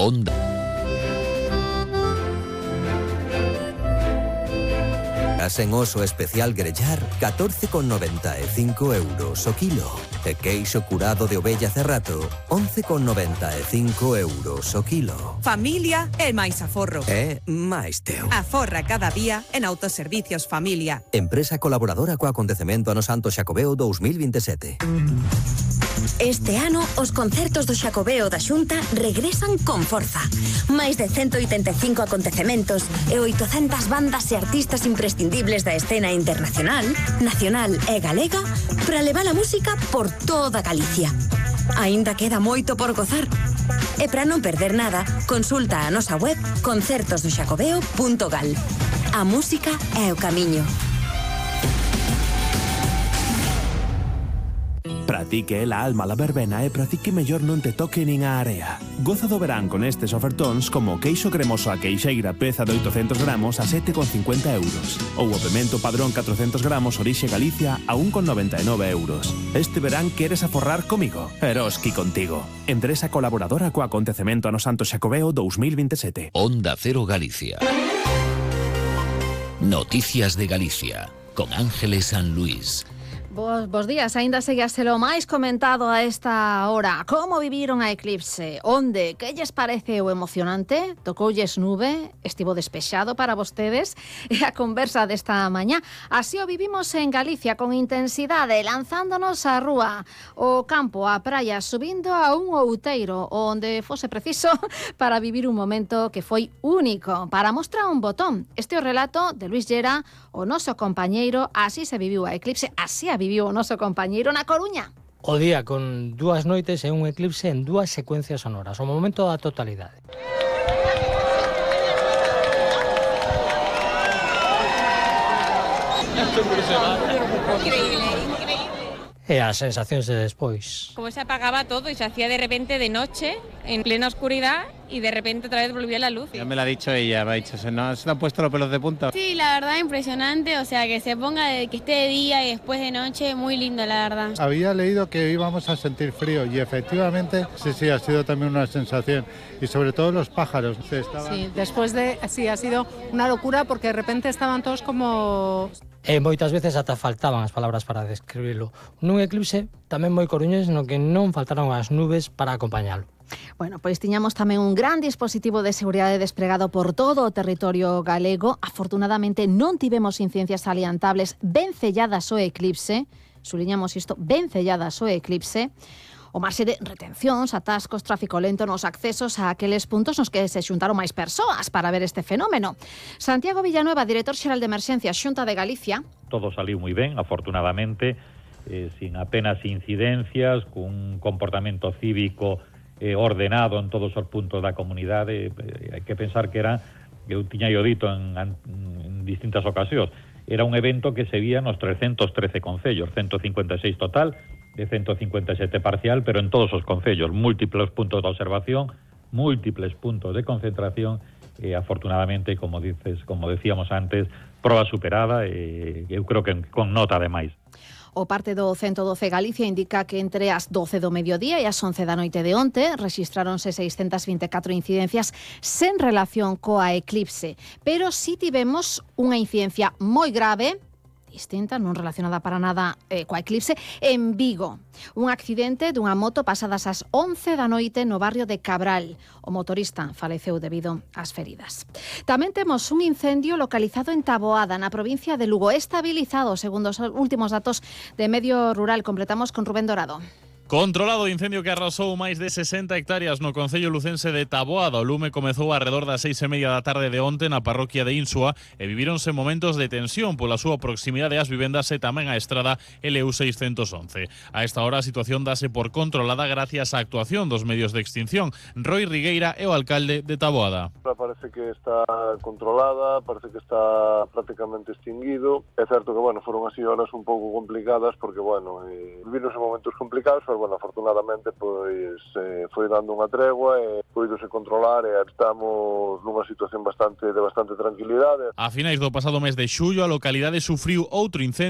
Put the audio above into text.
Onda. En oso especial grellar, 14,95 euros o kilo. E queixo curado de ovella Cerrato, 11,95 euros o kilo. Familia e máis aforro. É máis teu. Aforra cada día en Autoservicios Familia. Empresa colaboradora co acontecemento ano Santo Xacobeo 2027. Este ano, os concertos do Xacobeo da Xunta regresan con forza. Máis de 185 acontecementos e 800 bandas e artistas imprescindibles da escena internacional, nacional e galega para levar a música por toda Galicia. Aínda queda moito por gozar. E para non perder nada, consulta a nosa web concertosdoxacobeo.gal. A música é o camiño. Pratique la alma la verbena e pratique mellor non te toque nin a area. Goza do verán con estes ofertóns como queixo cremoso a queixeira peza de 800 gramos a 7,50 euros ou o pemento padrón 400 gramos orixe Galicia a 1,99 euros. Este verán queres aforrar comigo? Eroski contigo. Empresa colaboradora co acontecemento ano Santo Xacobeo 2027. Onda Cero Galicia. Noticias de Galicia con Ángeles San Luis. Bos días, aínda segue a ser o máis comentado a esta hora. Como viviron a eclipse? Onde? Que lles parece o emocionante? Tocoulles nube? Estivo despexado para vostedes? E a conversa desta mañá. Así o vivimos en Galicia con intensidade, lanzándonos á rúa, o campo, a praia, subindo a un outeiro, onde fose preciso para vivir un momento que foi único. Para mostrar un botón. Este é o relato de Luis Llera, o noso compañeiro. Así se viviu a eclipse, así a viviu o noso compañeiro na Coruña. O día con 2 noites e un eclipse en 2 secuencias sonoras, o momento da totalidade. E as sensacións de despois. Como se apagaba todo y se hacía de repente de noche, en plena oscuridad, y de repente otra vez volvía la luz. Ya me lo ha dicho ella, me ha dicho, se nos han puesto los pelos de punta. Sí, la verdad impresionante, o sea, que se ponga, que esté de día y después de noche, muy lindo, la verdad. Había leído que íbamos a sentir frío y efectivamente sí, ha sido también una sensación. Y sobre todo los pájaros. Sí, después de, sí, ha sido una locura porque de repente estaban todos como... E moitas veces ata faltaban as palabras para describilo. Nun eclipse tamén moi coruñés no que non faltaron as nubes para acompañalo. Bueno, pois tiñamos tamén un gran dispositivo de seguridade desplegado por todo o territorio galego. Afortunadamente non tivemos incidencias salientables, ben selladas o eclipse. Suliñamos isto, ben selladas o eclipse. O marxe de retencións, atascos, tráfico lento nos accesos a aqueles puntos nos que se xuntaron máis persoas para ver este fenómeno. Santiago Villanueva, director xeral de Emerxencias, Xunta de Galicia. Todo saliu moi ben, afortunadamente, sin apenas incidencias, cun comportamento cívico ordenado en todos os puntos da comunidade. Hai que pensar que era, eu tiña dito en distintas ocasións, era un evento que se vía nos 313 concellos, 156 total, de 157 parcial, pero en todos os concellos, múltiples puntos de observación, múltiples puntos de concentración, afortunadamente, como decíamos antes, proba superada, eu creo que con nota ademais. O parte do 112 Galicia indica que entre as 12 do mediodía e as 11 da noite de onte rexistráronse 624 incidencias sen relación coa eclipse, pero si tivemos unha incidencia moi grave, distinta, non relacionada para nada coa eclipse, en Vigo. Un accidente dunha moto pasadas as 11 da noite no barrio de Cabral. O motorista faleceu debido ás feridas. Tamén temos un incendio localizado en Taboada, na provincia de Lugo, estabilizado, segundo os últimos datos de Medio Rural. Completamos con Rubén Dorado. Controlado o incendio que arrasou máis de 60 hectáreas no concello lucense de Taboada. O lume comezou arredor das 6:30 da tarde de onte na parroquia de Insua e vivíronse momentos de tensión pola súa proximidade ás vivendas e tamén á estrada LU 611. A esta hora a situación dase por controlada gracias á actuación dos medios de extinción. Roy Rigueira é o alcalde de Taboada. Parece que está controlada, parece que está prácticamente extinguido. É certo que, foron así horas un pouco complicadas porque, vivironse momentos complicados, pero afortunadamente foi dando unha tregua e poidose controlar e estamos nunha situación de bastante tranquilidade. A finais do pasado mes de xullo a localidade sufriu outro incendio